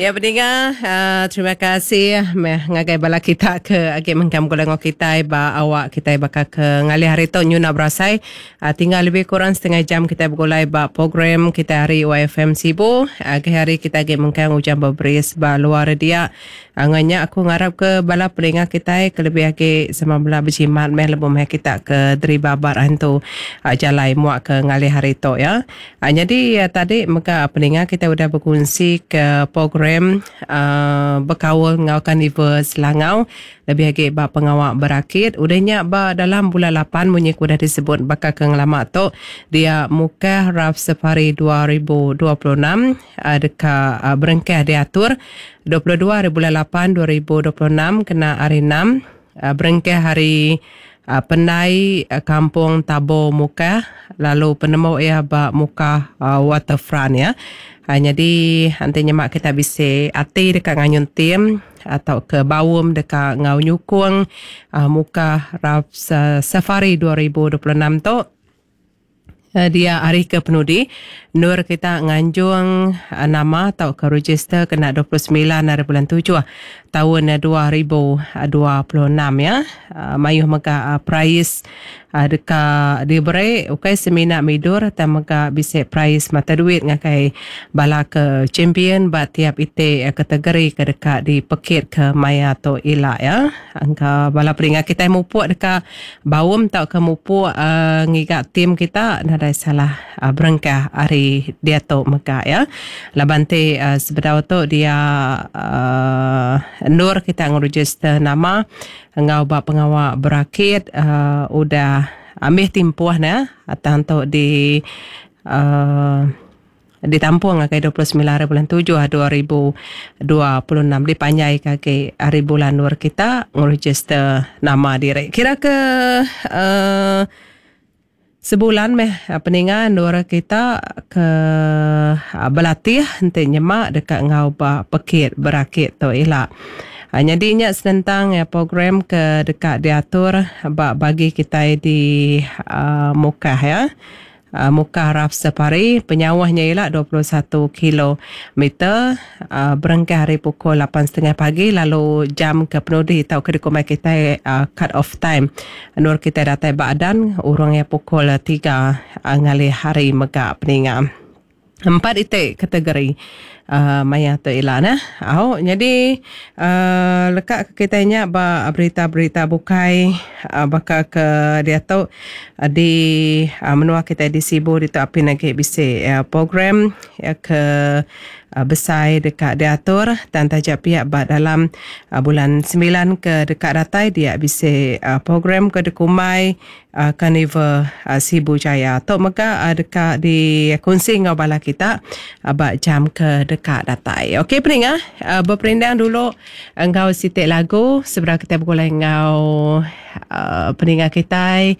Ya peninga, terima kasih meh ngagai bala kita ke agi mengkang begulai enggau kitai ba awak kitai baka ke ngalih hari tu nyuna berasai tinggal lebih kurang setengah jam kitai begulai ba program kitai hari YFM Sibu. Agi hari kitai agi mengkang ujan beberis ba luar dia. Enggau nya aku ngarap ke bala peninga kitai ke lebih agi sama bela bejimat meh lebuh meh kita ke deriba ba rantu jalai muak ke ngalih hari tu ya. Nyadi tadi mega peninga kitai udah bekunsi ke program bekaul enggau Karnival Selangau lebih agi ba pengawa berakit. Udah nya ba dalam bulan lapan munyi ke udah disebut baka ke ngelama tu dia Mukah Raft Safari 2026 deka berengkah diatur 22 hari bulan lapan 2026 kena hari enam berengkah hari pendai Kampung Tabo Mukah lalu penemu iya ba Mukah Waterfront iya. Nyadi enti nyema kita bisi ati deka nganyun tim tauka baum deka enggau nyukung Mukah Raft Safari 2026 tu, Dia hari ke penudi endur kita nganjung nama tauka register kena 29 hari bulan tujuh taun 2026 ya. Mayuh mega perais deka diberi ukai semina midur tang mega bisi perais mata duit ngagai bala ke champion ba tiap iti kategori ke deka dipekit ke maya tu ila ya. Engka bala peninga kitai mupuk deka Baum tauka mupuk ngiga tim kita nadai salah berengkah ari diatu mega ya. Laban ti sebedau tu dia endur kita ngeregister nama enggau ba pengawa berakit udah ambih timpuh ne tang tu di Ditampung ngagai 29 hari bulan tujuh 2026 dipanjaika agi hari bulan endur kita ngerejister nama diri. Kira ke uhh sebulan meh peninga endur kita ke belatih enti nyema deka enggau ba pekit berakit tu ila. Nyadi nya senentang program ke deka diatur ba bagi kitai di Mukah iya. Mukah Raf Safari, penyauh nya ila 21 kilo meter berengkah ari pukul lapan setengah pagi lalu jam ke penudi tauka dikumbai kitai cut off time endur kitai datai ba adan urung iya pukul tiga ngalih hari mega peninga. Empat iti kategori maya tu ila neh. Au nyadi uhh leka ke kitai nya ba berita-berita bukai baka ke diatu di menua kitai di Sibu ditu apin agi bisi program ke besai deka diatur tang taja pia ba dalam bulan semilan ke deka datai dia bisi program ke dikumbai Karnival Sibu Jaya. Tu mega deka dikunsi enggau bala kita ba jam ke deka datai. Okey peninga, beperindang dulu enggau siti lagu sebedau kitai begulai enggau peninga kitai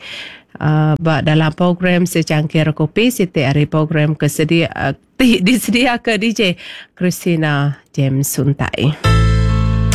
ba dalam program Secangkir Kopi siti ari program ke sedia ti disediaka DJ Christina James Suntai.